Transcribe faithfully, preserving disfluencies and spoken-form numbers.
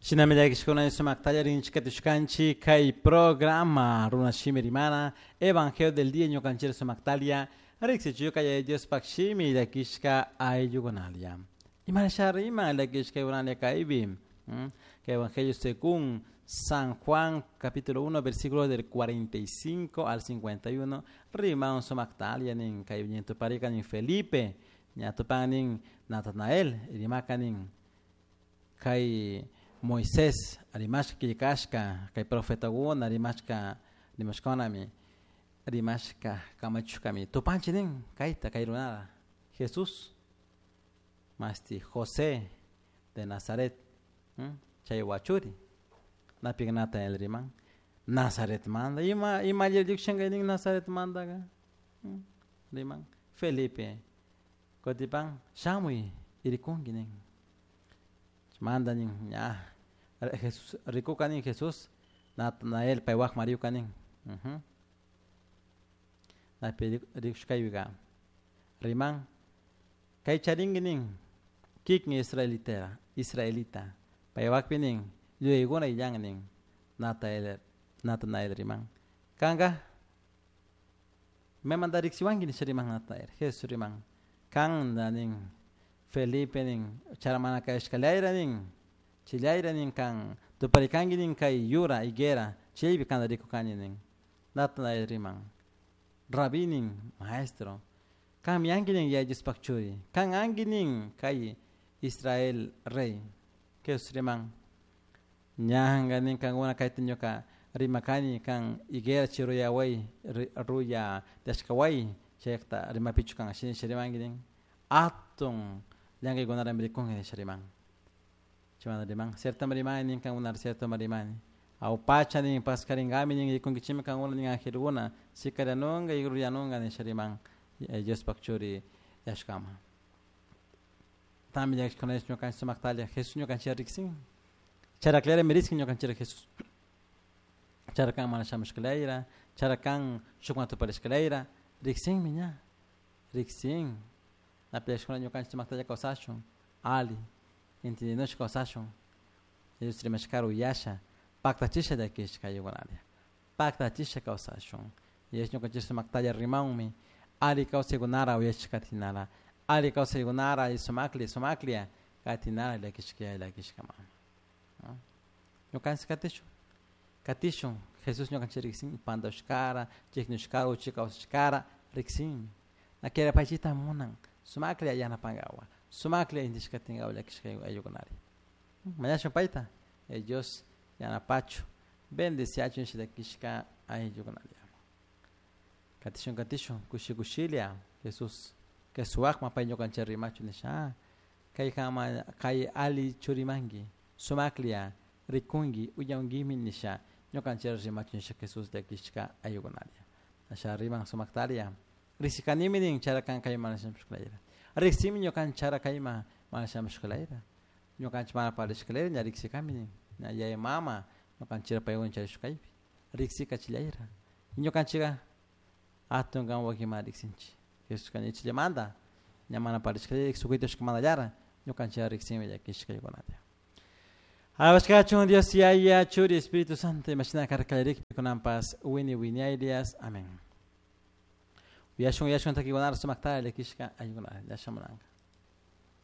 Shinami llakishkuna sumaktalla rinchikatushkanchik kay programa Runa Shimi Rimana Evangelio del Día ñukanchik sumaktalia riksichuka Yaya Diospak shimi llakishka ayllukunalia. Imarasha riman llakishka ayllukunalia kaypi. Kay Evangelio según San Juan capítulo uno versículo del cuarenta y cinco al cincuenta y uno riman sumaktalia nin kay ñantuparika nin Felipe ñatupan nin Natanael rimaka nin kay Moisés rimashka killkashka kay profetakuna rimashka rimashkanami rimashka kamachushkami tupanchik nin kayta kay runara Jesús masti José de Nazaret chay wachuri napik Natanael riman Nazaret manda ima ima llukshanka nin Nazaret mandaka riman Felipe kutipan shamuy irikunki nin manda nin ña Jesús rikuka nin Jesús Natanael paywak mariuka nin napi rikushkaypika riman kay charinki nin kikin israelitera israelita paywakpi nin yuyaykuna illan nin Natanael Natanael riman kanka maymanta riksiwanki nisha riman Natanael Jesús riman kanta nin Felipe nin charamana kashkalayra nin chillayra nin kan tuparikanki nin kay yura higuera chaypi kanta rikukani nin Natanael riman Rabí nin maestro kanmi anki nin Yaya Diospak churi kan anki nin kay Israel rey Jesús riman ñanka nin kankuna kayta ñuka rimakani kan higuera chiruyaway ruya tiyashkaway chayta rimapichu kan shina rimanki nin atun llankaykunarami rikunki nisha riman chaymanta riman cierto rimani nin kankuna cierto rimani awpacha nin paskarinkami nin rikunkichikmi kankuna nin angelkuna sikarianunka y ruyanunka nisha riman Diospak churi yashkama tambi llakishkunash ñukanchik sumaktalla Jesús ñukanchik riksin charakllarami riksin ñukanchik Jesús charakan mana shamushkalayra charakan shukwan tuparishkalayra riksinmi ña riksin napi llakishkuna ñukanchik sumaktalla kawsashun ali entendinushka kawsashun Dios rimashkara uyasha paktachisha llakishka ayllukunalia paktachisha kawsashun Dios ñukanchik sumaktalla rimanmi ali kawsaykunara uyashka katinara ali kawsaykunara sumakli sumaklia katinara llakishka llakishka mama ñukanchik katishun katishun Jesús ñukanchik riksin pantashkara chiknushkara uchi kawsashkara riksinmi nakira paychita munan sumaklla yanapankawa sumaklla intishkatinkawa llakishka ayllukunari mañashun payta Dios yanapachu bendeciachun llakishka ayllukunaria katishun katishun kushi kushilla Jesús Jesuakma pay ñukanchik rimachu nisha kay kama kay ali churimanki sumaklla rikunki uyankimi nisha ñukanchik rimachu nisha Jesús llakishka ayllukunaria asha riman sumaktaria riksikanimi nin charakan kayma mana shamushkalayra riksimi ñukanchik chara kayma mana shamushkalayra ñukanchik mana parishkalayra ña riksikami nin ña yaya mama ñukanchik paykuna charishkaypi riksikachillayra ñukanchikka atun kan wakinmanta riksinchik Jesús ichillamanta ña mana parishkalayra sukuytushkamantalla ñukanchik riksinmi llakishka ayllukunata Alabashkachun Dios Yaya Churi Espíritu Santo imashina karkallarikpi kunanpas wini wiñaylias amén. Uyashun uyashun takikunara sumaktalla llakishka ayllukunata llashamunanka.